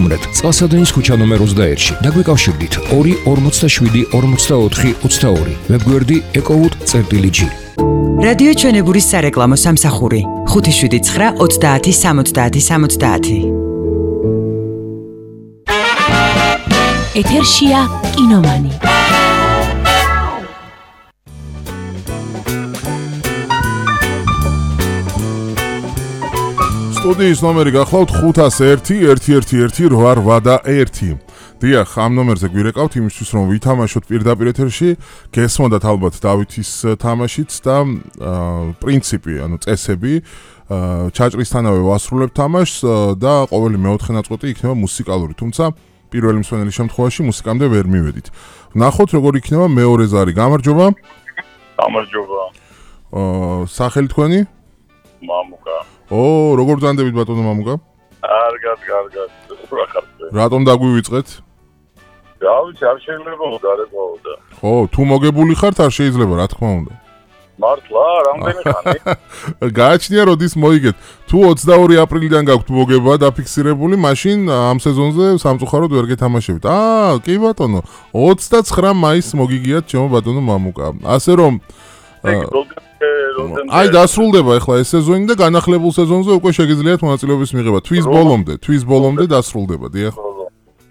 სტუმრად წყალსადენის ქუჩა ნომერ 21-ში. დაგვიკავშირდით 2-52-44-22. ვებგვერდი ecowood.gi. რადიო ჩვენებურის სარეკლამო სამსახური 579 30 70 70. ეთერშია კინომანი. სტუდიის ნომერი გახლავთ 501-111-881. დიახ, ამ ნომერზე გვირეკავთ იმისთვის, რომ ვითამაშოთ პირდაპირ ეთერში, გესმოდათ ალბათ დავითის თამაშიც და პრინციპი, ანუ წესები, ჩაჭრისთანავე ვასრულებთ თამაშს და ყოველი მეოთხე ნაწყვეტი იქნება მუსიკალური, თუმცა პირველი მსვენელი შემთხვევაში მუსიკამდე ვერ მივედით. ვნახოთ, როგორ იქნება მეორე ზარი. გამარჯობა. გამარჯობა. სახელი თქვენი? მამუკა. როგორ ბრძანდებით ბატონო მამუკა? კარგად. რატომ დაგვივიწყეთ? გავიცი, არ შეიძლება დარებაოდა. ხო, თუ მოგებული ხართ, არ შეიძლება, რა თქმა უნდა. მართლა, რამდენი ხანი? გააჩნია როდის მოიგეთ. თუ 22 აპრილიდან გაქვთ მოგება დაფიქსირებული, მაშინ ამ სეზონზე სამწუხაროდ ვერ გეთამაშებთ. კი ბატონო, 29 მაისს მოგიგიათ ჩემო ბატონო მამუკა. ასე რომ აი დასრულდება ახლა ეს სეზონი და განახლებულ სეზონზე უკვე შეგიძლიათ მონაწილეობის მიღება. თვის ბოლომდე დასრულდება, დიახ.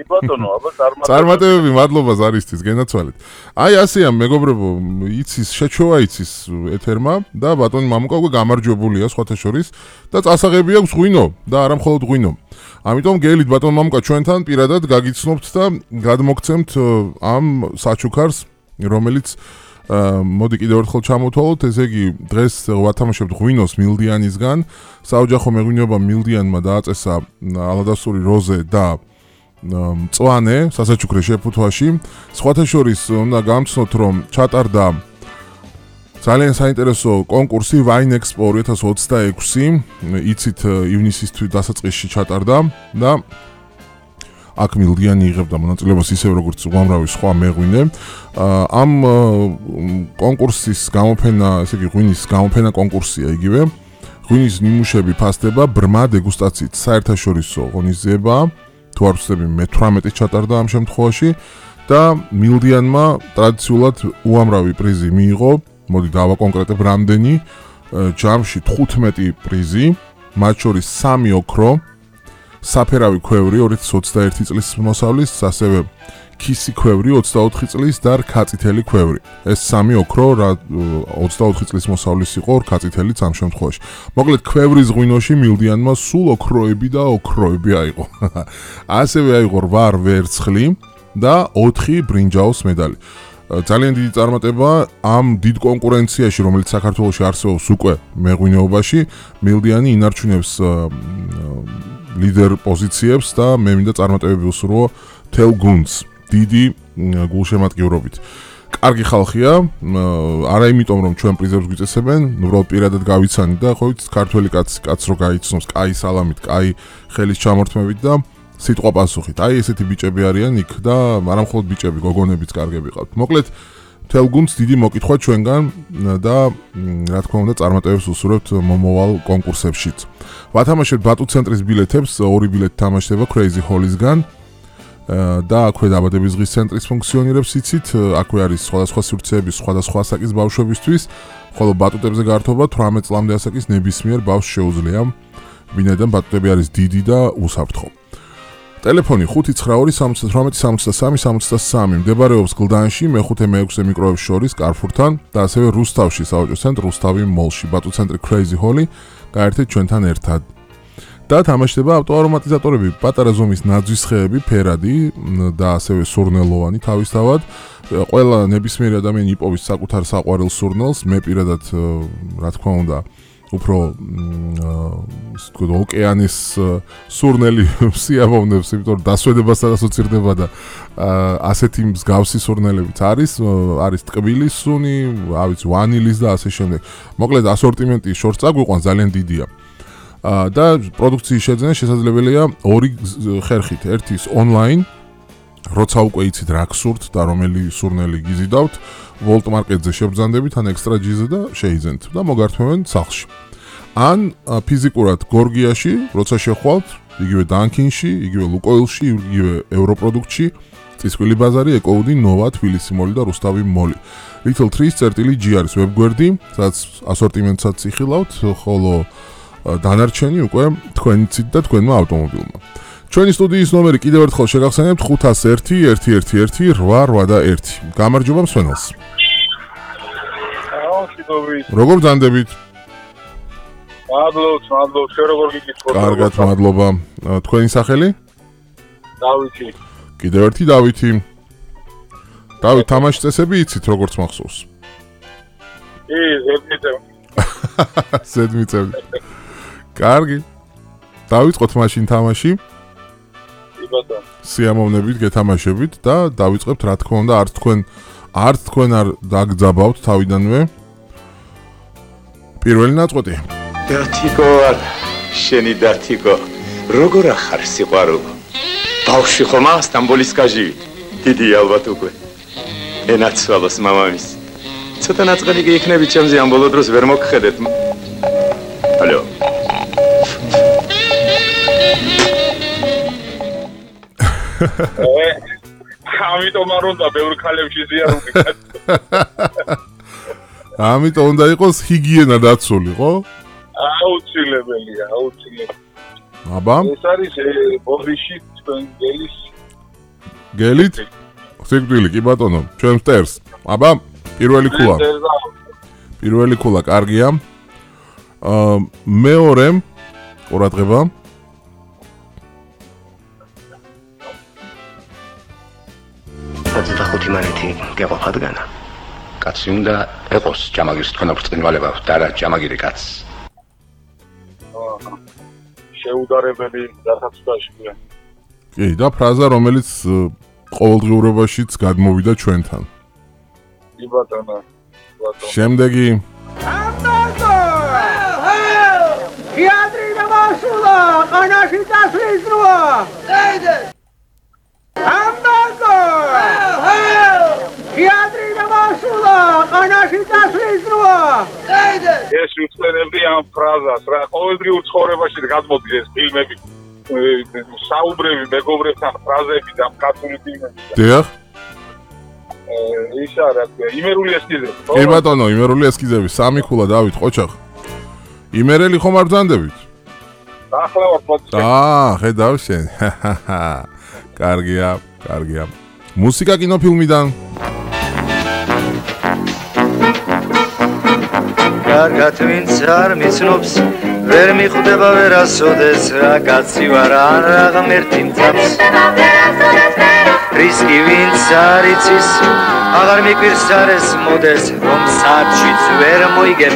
ბატონო, აბა წარმატებები, მადლობა ზარისთვის, გენაცვალეთ. აი ასეა მეგობრებო, იცის შეჩვევა იცის ეთერმა და ბატონი მამუკა უკვე გამარჯვებულია სხვათა შორის და წასაღები აქვს ღვინო და არა მხოლოდ ღვინო. ამიტომ გელით ბატონ მამუკა ჩვენთან პირადად გაგიცნობთ და გადმოგცემთ ამ საჩუქარს, რომელიც მოდი კიდევ ერთხელ ჩამოვთვალოთ, ესე იგი დღეს ვათამაშებთ ღვინოს მილდიანისგან. საოჯახო მეღვინეობა მილდიანმა დააწესა ალადასტური როზე და მწვანე სასაჩუქრე შეფუთვაში. სხვათა შორის უნდა გამცნოთ, რომ ჩატარდა ძალიან საინტერესო კონკურსი Wine Expo 2026. იცით ივნისის დასაწყისში ჩატარდა და აქ მილდიანი იღებდა მონაწილეობას ისევ როგორც უამრავი სხვა მეღვინე. ამ კონკურსის გამოფენა, ესე იგი ღვინის გამოფენა კონკურსია იგივე. ღვინის ნიმუშები ფასდება ბრმა დეგუსტაციით, საერთაშორისო ღონისძიება, თუ არ ვცდები მე-18 ჩატარდა ამ შემთხვევაში და მილდიანმა ტრადიციულად უამრავი პრიზი მიიღო. მოდი დავაკონკრეტებ რამდენი, ჯამში 15 პრიზი, მათ შორის 3 ოქრო, საფერავი ქვევრი 2021 წლის მოსავლის, ასევე ქისი ქვევრი 24 წლის და რქაწითელი ქვევრი. ეს 3 ოქრო 24 წლის მოსავლის იყო, რქაწითელიც ამ შემთხვევაში. მოკლედ ქვევრის ღვინოში მილდიანმა სულ ოქროები და ოქროები აიღო. ასევე აიღო 8 ვერცხლი და 4 ბრინჯაოს მედალი. ძალიან დიდი წარმატება ამ დიდ კონკურენციაში, რომელიც საქართველოში არსებობს უკვე მეღვინეობაში, მილდიანი ინარჩუნებს ლიდერ პოზიციებს და მე მინდა წარმატებები უსურვო თელ გუნდს დიდი გულშემატკივრობით. კარგი ხალხია, არა იმიტომ რომ ჩვენ პრიზებს გვიწესებენ, უბრალოდ პირადად გავიცანით და ხო იცით ქართველი კაც რო გაიცნობს კაი სალამით, კაი ხელის ჩამორთმებით და სიტყვა პასუხით. აი ესეთი ბიჭები არიან იქ და არა მხოლოდ ბიჭები, გოგონებიც კარგები ყავთ. მოკლედ თელ გუნდს დიდი მოკითხვა ჩვენგან და რა თქმა უნდა წარმატებებს უსურვებთ მომავალ კონკურსებშიც. ვათამაშებთ ბატუ ცენტრის ბილეთებს, 2 ბილეთი თამაშდება Crazy Hall-ისგან და აქვე დაბადების დღის ცენტრის ფუნქციონირებს იცით, აქვე არის სხვადასხვა სივრცეების სხვადასხვა ასაკის ბავშვებისთვის, ხოლო ბატუტებზე გართობა 18 წლამდე ასაკის ნებისმიერ ბავშვს შეუძლია, ვინაიდან ბატუტები არის დიდი და უსაფრთხო. ტელეფონი 598-73-63, მდებარეობს გლდანში, მე-5-მე-6 მიკროებს შორის, კარფურთან და ასევე რუსთავში, საოჯო ცენტრ რუსთავი მოლში, ბატუ ცენტრი Crazy Hall-ი, გაერთეთ ჩვენთან ერთად. და თამაშდება ავტოარომატიზატორები, პატარა ზომის ნაძვის ხეები, ფერადი და ასევე სურნელოვანი თავისთავად. ყველა ნებისმიერი ადამიანი იპოვის საკუთარ საყვარელ სურნელს, მე პირადად რა თქმა უნდა უფრო ოკეანის სურნელი სიამოვნებს, იმიტომ რომ დასვედებასთან ასოცირდება და ასეთი მსგავსი სურნელებიც არის ტკბილი სუნი, ავიც ვანილის და ასე შემდეგ. მოკლედ ასორტიმენტი შორს წაგვიყვანს ძალიან დიდია. და პროდუქციის შეძენა შესაძლებელია 2 ხერხით. ერთი ონლაინ, როცა უკვე იცით რა გსურთ და რომელი სურნელი გიზიდავთ, ვოლტ მარკეტზე შებრძანდებით ან ექსტრა ჯიზე და შეიძენთ და მოგართმევენ სახლში. ან ფიზიკურად გორგიაში, როცა შეხვალთ, იგივე Dunkin-ში, იგივე Lukoil-ში, იგივე Europroduct-ში, წისქვილი ბაზარი, Eco-Wood, Nova, თბილისი მოლი და რუსთავი მოლი. Little Trees.gr არის ვებგვერდი, სადაც ასორტიმენტსაც იხილავთ, ხოლო დანარჩენი უკვე თქვენიცით და თქვენმა ავტომობილმა. ჩვენი სტუდიის ნომერი კიდევ ერთხელ შეგახსენებთ 501-111-881. გამარჯობა მსვენელს. როგორ ბრძანდებით? მადლობთ, შენ როგორ გიგიწყობ? კარგად, მადლობა. თქვენი სახელი? დავითი. კიდევ ერთი დავითი. დავით, თამაშის წესები იცით როგორც მახსოვს? ზედმიწევი. კარგი. დავიწყოთ მაშინ თამაში. სიამოვნებით გეთამაშებით და დავიწყებთ რა თქმა უნდა არც თქვენ არ დაგძაბავთ თავიდანვე. პირველი ნაწყვეტი. დათიკო არ შენი დათიკო როგორ ახარ სიყვარულო ბავშვი ხომა სტამბოლის კაჟივით დიდი ალბათ უკვე ენაცვალოს მამამის ცოტა ნაწყელი გიქნები ჩემზე ამ ბოლო დროს ვერ მოგხედეთ ალო ამიტომ არ უნდა ბევრ ქალებში ზიარული ამიტომ უნდა იყოს ჰიგიენა დაცული, ხო? აუცილებელია. აბა? ეს არის ბოდიში თქვენ გელის. გელით? სიკვდილი, კი ბატონო, ჩვენ მტერს. აბა, პირველი ქულა კარგია. მეორე ყურადღება. და 5 მანეთი გეყოფადგანა. კაცი უნდა ეყოს ჯამაგირის თქვენა ბრწყინვალება და რა ჯამაგირი კაცს. შეუდარებელი დასაწყისია. კი, და ფრაზა რომელიც ყოველდღიურობაშიც გადმოვიდა ჩვენთან. კი ბატონო. შემდეგი თეატრი დამასულა, ყანაში დასვლის როა. დაიდე. ამბაკო. თეატრი დამასულა, ყანაში დასვლის როა. დაიდე. ეს უცხენებდი ამ ფრაზას რა ყოველდღიურ ცხოვრებაში გადმოდის ეს ფილმები. საუბრები მეგობრებთან ფრაზები და კაცული ფილმები. დიახ. ისა რა ქვია, იმერული ესკიზები. კი ბატონო, იმერული ესკიზები, სამი ქულა დავით ყოჩახ. იმერელი ხომ არ ბრძანდებით? ახლა ვარ პოდკასტი. ხედავ შენ. კარგია. მუსიკა კინოფილმიდან. კარგად ვინც არ მიცნობს ვერ მიხვდება ვერასოდეს რა კაცი ვარ ან რა ღმერთი მწამს რისკი ვინც არ იცის აღარ მიკვირს არ ეს მოდეს რომ საჩვიც ვერ მოიგებ